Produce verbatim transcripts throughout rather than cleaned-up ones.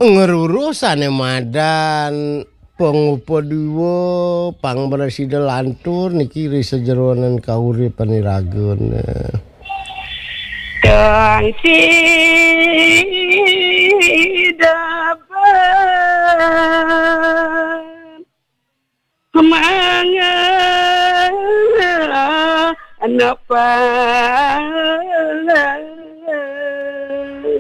Ngruruh sané madan pangupadiwa, pangprasida lantur niki ri sajeroning kauripan iragane. Kang sida Mangga napa?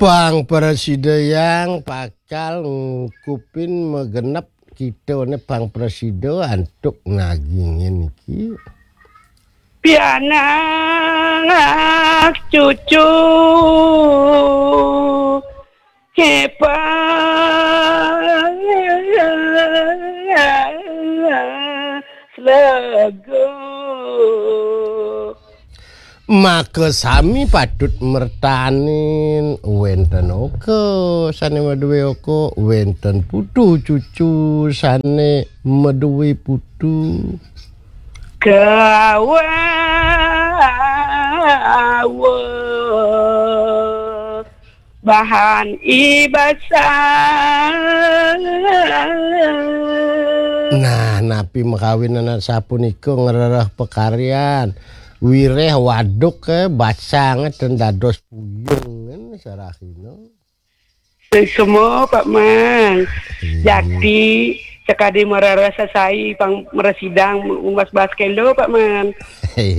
Pang prasida yang pakal ngukupin magenep kita ne pang prasida antuk nagingin iki. Pianak cucu Kepa Slego. Maka sami patut mertanin wenten oka sane maduwe oka, wenten putu cucu sane maduwe putu. Kawa bahan ibasa. Nah, napi makawinan sapunika ngrereh pakaryan. Wireh waduk ke basang ten dados puyung sarahina. Semua Pak Man. Jakti sekadi marara sasai pang mresidang mas bas kelo Pak Man.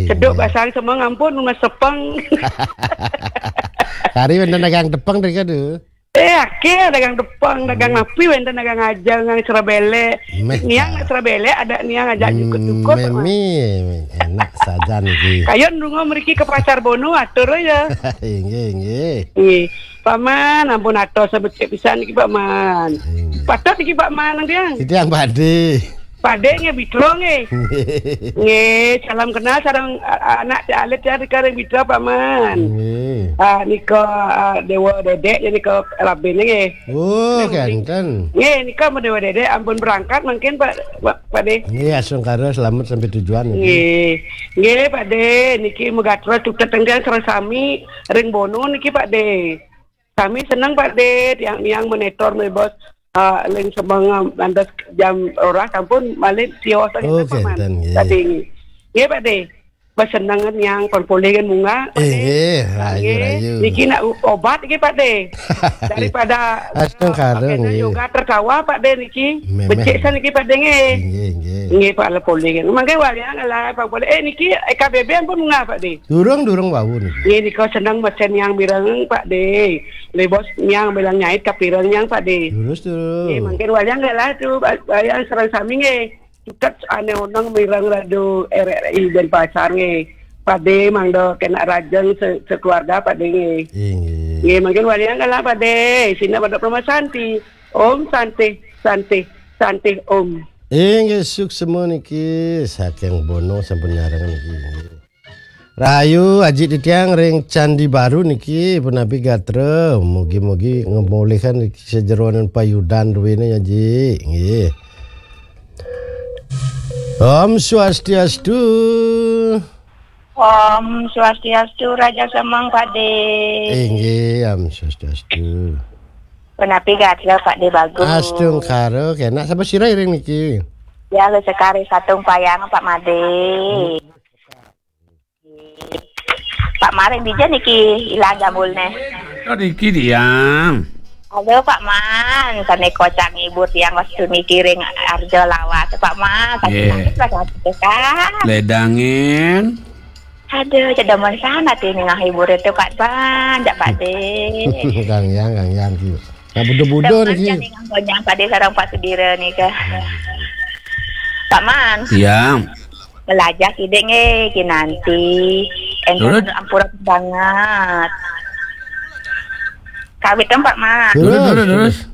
Seduk basang semua ngampun mas sepeng. Kari wenten dagang tepeng dari kadu. Eh, akeh dagang tepeng, dagang napi wenten dagang aja ngang serabele. Niang serabele ada niang ajak jukut-jukut Pak Man. Memi, enak saja niki. Kayon rungo mriki ke Pasar Bono atur ya. Inggih, inggih. Nggih. Paman, ampun atos becik pisan niki Paman. Patut niki Paman nang tiang. Titiang pade. Pade nggih Bitra nggih. Nggih, salam kenal sareng a- anak alit ya di Kareng Bitra Paman. Nggih. Ah, nika ah, Dewa Dedek ya nika Rabin nggih. Oh, kenten. Nggih, nika mau Dewa Dedek ampun berangkat mungkin Pak Pak Pade. Nggih, astungkara selamat sampai tujuan nggih. Nggih. Nggih, Pak De, niki megatros tutet tenggang sareng sami ring Bono niki Pak De. Sami seneng Pak De, tiang niang menetor me bos ah, ling semeng antes jam roras sampun malih tios Oh, Pak Man. Kenten nggih. Pak De nggih. Nggih Pak De. Beseneng niang pun polih kan munggah Pak De. Inggih, rayu Nggih. Rayu. Niki nak u- obat nggih Pak De. Daripada Astungkara ah, nggih. Yoga tertawa Pak De niki. Memang. Becik san niki Pak De nggih. Inggih, inggih. Nggih Pak Lepoli. Mangke walian lah Pak Poli. Eh niki E K B B ampun munggah Pak De. Durung durung wau niki. Nggih nika seneng mesen yang mireng Pak De. Le bos yang bilang nyait kapireng yang Pak De. Durus durus. Nggih mangke walian lah tu walian sareng sami nggih. Tuket ane oneng mireng radio R R I Denpasar nggih. Pak De mangda kena rajeng se- sekeluarga Pak De nggih. Inggih. Nggih mangke walian lah Pak De. Sina pada Permasanti. Om Santi Santi Santi Om. Inggih suksema niki saking Bono sampun nyareng niki. Rahayu aji titiang ring Candi Baru niki punapi gatra. Mugi-mugi ngemolihkan niki sajeroning payudan duwene aji. Nggih. Om Swastiastu. Om Swastiastu Raja Semeng Pak De. Inggih, Om Swastiastu. Punapi gatra Pak De bagus. Astungkara kenak sapa sira iring niki? Ya, le sekari satung payang Pak Made. Pak Maring dija niki ilang jambulne. Oh, niki dia. Halo Pak Man, sane kocak ngibur tiang wastu niki ring Arjo Lawas Pak Man, sakit Nggih. Sakit lah sakit Kak. Ledangin. Aduh, cedemen sana ti ningah hibur itu Kak Ban, jak Pak De. Kang Yang, Kang Yang ki. Nah, budo-budo Demen niki. Kan ningah gonyang Pak De sareng Pak Sudira nika. Pak Man. Iya. Belajar kidek nggih, kinanti. Enggak Turun. Ampura banget. Kawit kan Pak Man. Turun, Terus, turun, terus. Terus.